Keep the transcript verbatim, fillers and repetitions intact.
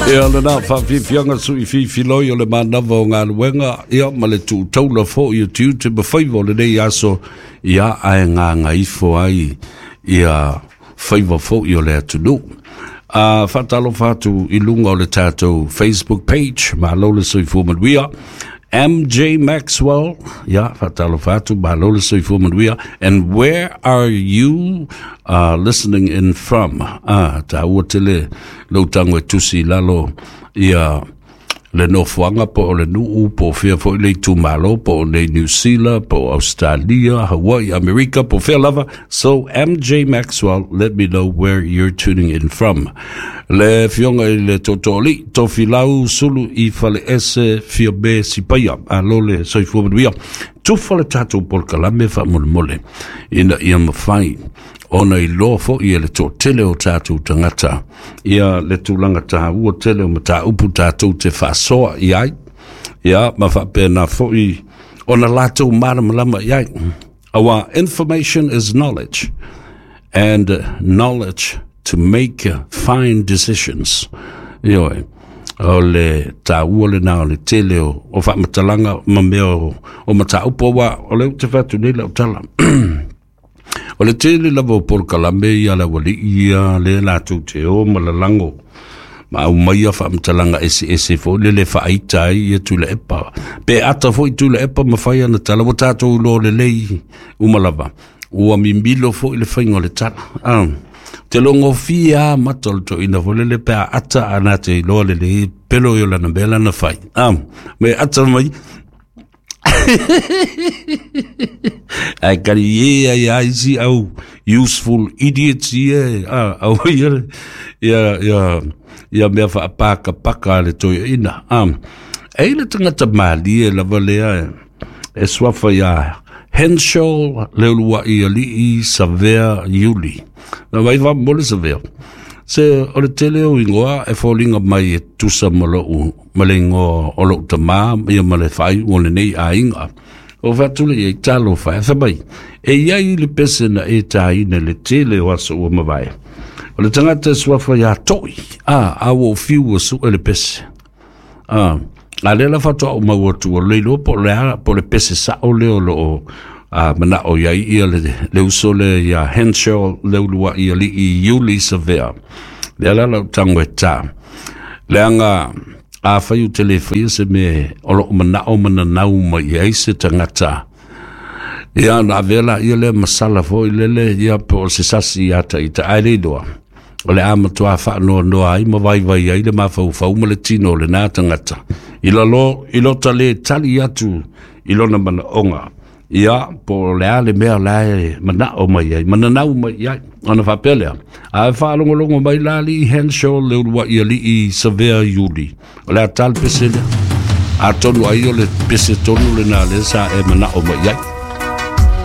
Ia lena faafiafiaga suʻifiifiloi o le manava o galuega ia ma le tuutaula foʻi o tiute ma faiva o lenei aso ia ae gagaifo ai ia faiva foʻi o le atunuu. A faatalofa atu i luga o le tatou Facebook page, malo le soifua manuia. M J Maxwell, ya, faatalofa atu, malo le soifua manuia. And where are you uh, listening in from? Ah, taua tele lou tago e tusi i lalo ia le nofoaga po o le nuu po o fea foʻi le itumālō po o nei New Zealand po o Australia, Hawaii, Amerika po o fea lava. So M J Maxwell, let me know where you're tuning in from. Le fioga i le tootooalii Tofilau Sulu i Faleese Fiame Sipaia, malo le soifua manuia. Tufa le tatou polokalame faamolemole ina ia mafai ona iloa foʻi e le toatele o tatou tagata ia le tulaga taua tele o mataupu tatou te faasoa i ai ia ma faapena foʻi ona latou malamalama i ai. Our information is knowledge, and knowledge to make fine decisions. Ioe, o le taua lena o le tele o, o faamatalaga ma mea o, o mataupu aua o le ute fatu nei lau tala. O le tele lava o polokalame ia le aualii ia le latou te o ma lalago ma aumaia faamatalaga eseese foʻi le le faaita ai ia Tuilaepa. Pe ata foʻi Tuilaepa ma fai ana tala ua tatou iloa lelei uma lava. Ua mimilo foʻi le faiga o le tala. Ah, te logofia a mata o le toeaina foi lele pe a ata ana te iloa lelei pelo i o lana mea lana fai. Ah, me ata mai ai kari e ai ai si au useful idiots ia ah au ia ia ia ia mea faapakapaka a le toeaina. Ah, e le tagata malie lava lea e suafa iā Henshaw Leuluaʻi Alii Savea Iuli. Na mai faamomoli Savea. Se o le tele o igoa e foliga mai e tusa ma lou ma le igoa o lou tamā ia ma le faaiuga o lenei aiga. O faatule ia i talofa e fai mai e iai le pese na e tāina le tele o aso ua mavae. O le tagata e suafa iā Toʻi, a a ua fiu ua suʻe le pese. A a lea la faatoa ou mau atu o le iloa po o le a po o le pese saʻo lea o loo a manaʻo iai ia le, le uso le ia Henshaw Leuluaʻi Alii Iuli Savea. Lea la lau tago e tā. Leaga afai ou te le faia se mea o loo manaʻo ma nanau mai ai se tagata. Ia na avea laia lea masala foʻi lele ia po o se sasi ia taita ae le iloa. O le a matuā faanoanoa ai ma vaivai ai le mafaufau ma le tino o lenā tagata. I lalo i lota lē tali atu i lona manaʻoga. Ia po o le a le mea la e manaʻo mai ai, mananau mai ai. Ona faapea lea, a e faalogologo mai la alii Henshaw Leuluaʻi Alii Savea Iuli. O le a tā le pese lea. Atonu ai o le pese tonu lenā lea sa e manaʻo mai ai.